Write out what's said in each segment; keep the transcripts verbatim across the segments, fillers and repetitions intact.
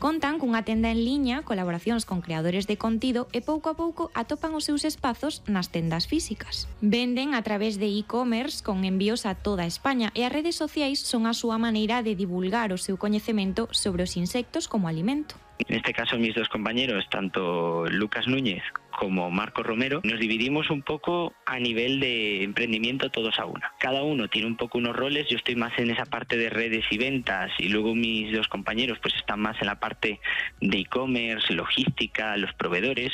Contan cunha tenda en liña, colaboracións con creadores de contido e pouco a pouco atopan os seus espazos nas tendas físicas. Venden a través de e-commerce con envíos a toda España e as redes sociais son a súa maneira de divulgar o seu coñecemento sobre os insectos como alimento. En este caso, mis dos compañeros, tanto Lucas Núñez como Marco Romero, nos dividimos un poco a nivel de emprendimiento todos a una. Cada uno tiene un poco unos roles, yo estoy más en esa parte de redes y ventas y luego mis dos compañeros pues están más en la parte de e-commerce, logística, los proveedores.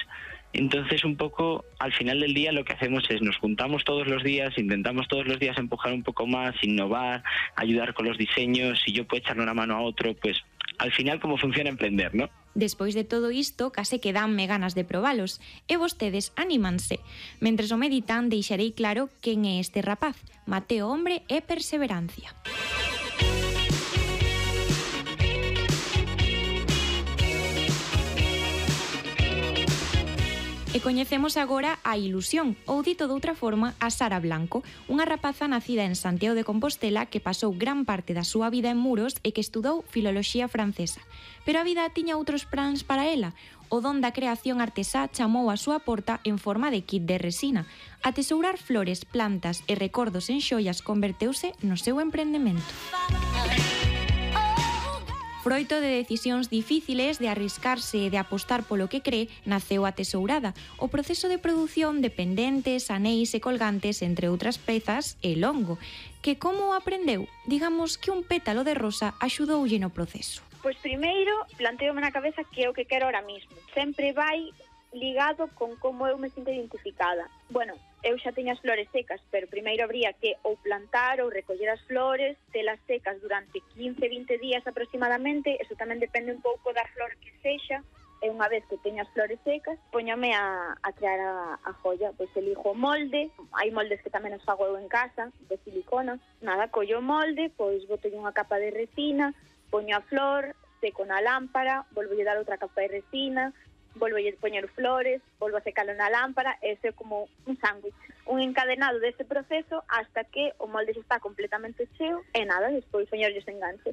Entonces, un poco, al final del día lo que hacemos es nos juntamos todos los días, intentamos todos los días empujar un poco más, innovar, ayudar con los diseños. Si yo puedo echarle una mano a otro, pues al final como funciona emprender, ¿no? Despois de todo isto, case que danme ganas de probalos, e vostedes anímanse. Mentres o meditan, deixarei claro quen é este rapaz, Mateo Hombre e Perseverancia. E coñecemos agora a Ilusión, ou dito doutra forma, a Sara Blanco, unha rapaza nacida en Santiago de Compostela que pasou gran parte da súa vida en Muros e que estudou filoloxía francesa. Pero a vida tiña outros plans para ela. O don da creación artesá chamou a súa porta en forma de kit de resina. A tesourar flores, plantas e recordos en xoias converteuse no seu emprendemento. Froito de decisións difíciles, de arriscarse e de apostar polo que cree, naceu a tesourada. O proceso de produción de pendentes, anéis e colgantes, entre outras pezas, é longo. Que como o aprendeu? Digamos que un pétalo de rosa axudoulle no proceso. Pois primeiro, planteome na cabeza que é o que quero ahora mismo. Sempre vai ligado con como eu me sinto identificada. Bueno, eu xa teño as flores secas, pero primeiro habría que ou plantar ou recoller as flores, telas secas durante quince a vinte días aproximadamente, eso tamén depende un pouco da flor que sexa, e unha vez que teño as flores secas, poñome a, a crear a, a joia, pois elijo o molde, hai moldes que tamén os fago eu en casa, de silicona, nada, collo o molde, pois boto unha capa de resina, poño a flor, seco na lámpara, volvo a dar outra capa de resina, volvo a poñer flores, volvo a secalo na lámpara, ese é como un sándwich, un encadenado dese proceso hasta que o molde xa está completamente cheo e nada, despois poñerlles enganches.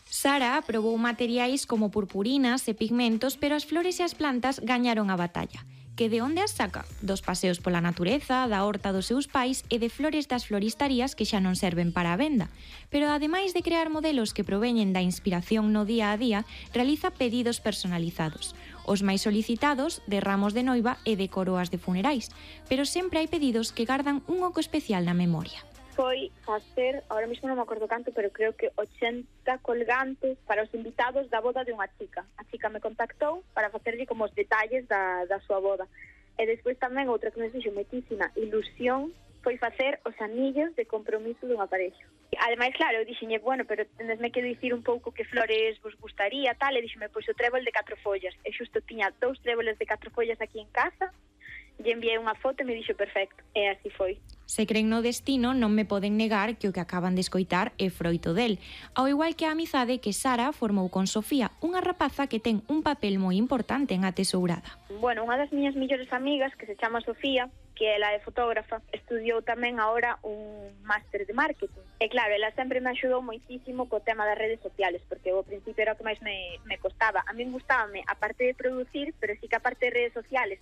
Sara probou materiais como purpurinas e pigmentos, pero as flores e as plantas gañaron a batalla. Que de onde as saca? Dos paseos pola natureza, da horta dos seus pais e de flores das floristarías que xa non serven para a venda. Pero ademais de crear modelos que proveñen da inspiración no día a día, realiza pedidos personalizados. Os máis solicitados de ramos de noiva e de coroas de funerais, pero sempre hai pedidos que gardan un oco especial na memoria. Foi facer, ahora mismo non me acordo canto, pero creo que ochenta colgantes para os invitados da boda de unha chica. A chica me contactou para facerlle como os detalles da, da súa boda. E despois tamén outra que me fixo moitísima ilusión foi facer os anillos de compromiso dunha pareja. Ademais, claro, eu dixenlle, bueno, pero tendesme que dicir un pouco que flores vos gustaría, tal, e dixeme, pois o trébol de catro follas. E xusto tiña dous tréboles de catro follas aquí en casa, e enviei unha foto e me dixo perfecto. E así foi. Se creen no destino, non me poden negar que o que acaban de escoitar é froito del. Ao igual que a amizade que Sara formou con Sofía, unha rapaza que ten un papel moi importante en A Tesourada. Bueno, unha das miñas millores amigas, que se chama Sofía, que ela é fotógrafa, estudiou tamén agora un máster de marketing. E claro, ela sempre me axudou moitísimo co tema das redes sociales, porque ao principio era o que máis me, me costaba. A min gustábame a parte de producir, pero sí que a parte de redes sociales,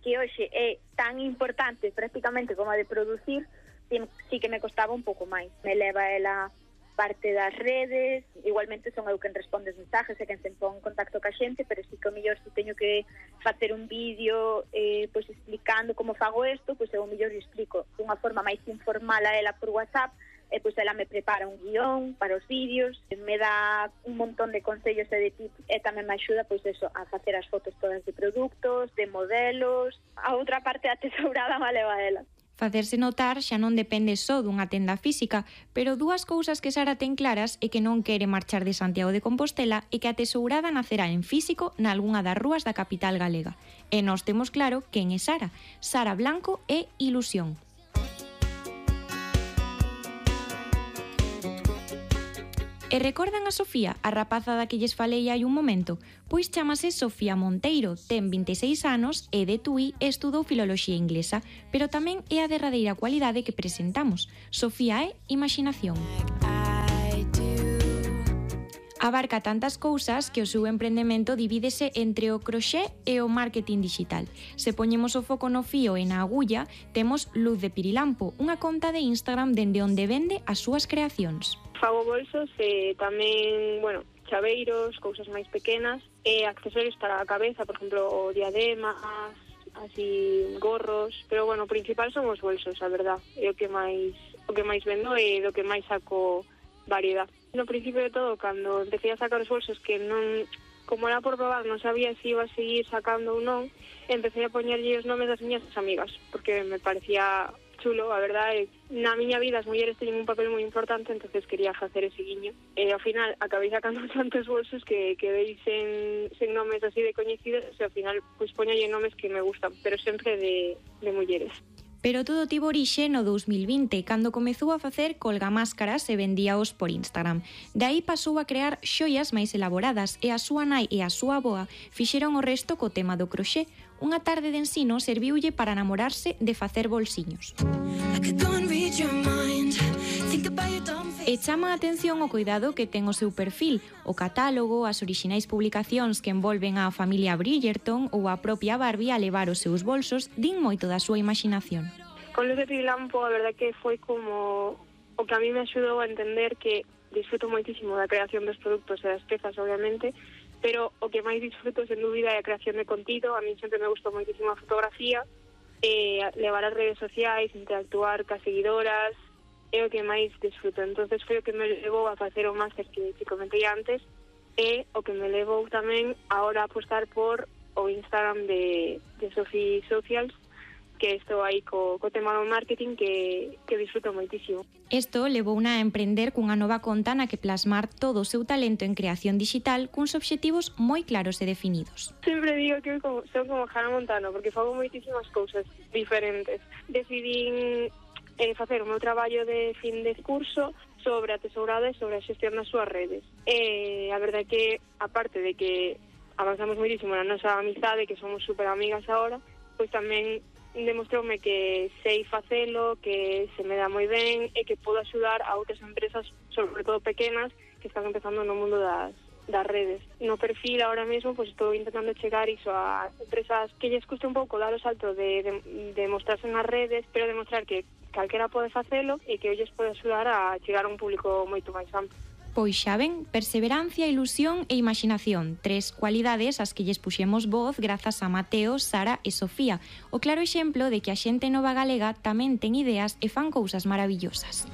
que hoxe é tan importante prácticamente como a de producir, sí que me costaba un pouco máis. Me leva ela parte das redes, igualmente son eu quen responde os mensajes e quen se pon en contacto ca xente, pero sí que o mellor se teño que facer un vídeo eh, pois explicando como fago isto, pois eu o mellor explico dunha forma máis informal a ela por WhatsApp, e pois ela me prepara un guión para os vídeos, me dá un montón de consellos e de tips, e tamén me axuda pois eso, a facer as fotos todas de produtos, de modelos. A outra parte da tesourada me leva ela. Facerse notar xa non depende só dunha tenda física, pero dúas cousas que Sara ten claras é que non quere marchar de Santiago de Compostela e que a tesourada nacerá en físico nalgunha das rúas da capital galega. E nós temos claro quen é Sara. Sara Blanco é Ilusión. E recordan a Sofía, a rapaza da que lles falei hai un momento? Pois chamase Sofía Monteiro, ten vinte e seis anos, é de Tui e estudou filoloxía inglesa, pero tamén é a derradeira cualidade que presentamos. Sofía é Imaxinación. Abarca tantas cousas que o seu emprendemento divídese entre o croxé e o marketing digital. Se poñemos o foco no fío e na agulla, temos Luz de Pirilampo, unha conta de Instagram dende onde vende as súas creacións. Fago bolsos e tamén, bueno, chaveiros, cousas máis pequenas e accesorios para a cabeza, por exemplo, diademas, así gorros, pero bueno, o principal son os bolsos, a verdad. É o que máis o que máis vendo e do que máis saco variedad. No principio de todo, cando empecé a sacar os bolsos que non, como era por probar, non sabía se iba a seguir sacando ou non, empecé a poñerlle os nomes das miñas amigas, porque me parecía chulo, a verdade, na miña vida as mulleres teñen un papel moi importante, entonces quería facer ese guiño. E ao final acabei sacando tantos bolsos que quedei sen, sen nomes así de coñecidos, e ao final pois poñolle nomes que me gustan, pero sempre de, de mulleres. Pero todo tivo orixe no dous mil vinte, cando comezou a facer colgamáscaras e vendíaos por Instagram. De aí pasou a crear xoias máis elaboradas e a súa nai e a súa avoa fixeron o resto co tema do croxé. Unha tarde de ensino serviulle para namorarse de facer bolsiños. E chama a atención o cuidado que ten o seu perfil, o catálogo, as orixinais publicacións que envolven a familia Bridgerton ou a propia Barbie a levar os seus bolsos din moito da súa imaginación. Con Luz de Pirilampo, a verdade que foi como o que a mí me axudou a entender que disfruto moitísimo da creación dos produtos e das pezas, obviamente, pero o que máis disfruto, sen dúbida, é a creación de contido. A mí sempre me gustou moitísimo a fotografía, e levar as redes sociais, interactuar cas seguidoras, é o que máis disfruto. Entonces foi o que me levou a facer o máster que te comentei antes e o que me levou tamén ahora a apostar por o Instagram de, de Sophie Socials, que estou aí co, co tema do marketing que, que disfruto moitísimo. Isto levouna a emprender cunha nova conta na que plasmar todo o seu talento en creación digital cuns obxectivos moi claros e definidos. Sempre digo que son como Hannah Montana, porque fago moitísimas cousas diferentes. Decidín eh, facer o meu traballo de fin de curso sobre a tesourada e sobre a xestión das súas redes. E a verdade é que, aparte de que avanzamos moitísimo na nosa amizade, que somos super amigas agora, pois tamén demostroume que sei facelo, que se me dá moi ben e que podo axudar a outras empresas, sobre todo pequenas, que están empezando no mundo das, das redes. No perfil ahora mesmo pois estou intentando chegar iso a empresas que lles custe un pouco dar o salto de, de, de mostrarse nas redes, pero demostrar que calquera pode facelo e que olles pode axudar a chegar a un público moito máis amplo. Pois xa ven, perseverancia, ilusión e imaginación, tres cualidades ás que lles puxemos voz grazas a Mateo, Sara e Sofía, o claro exemplo de que a xente nova galega tamén ten ideas e fan cousas maravillosas.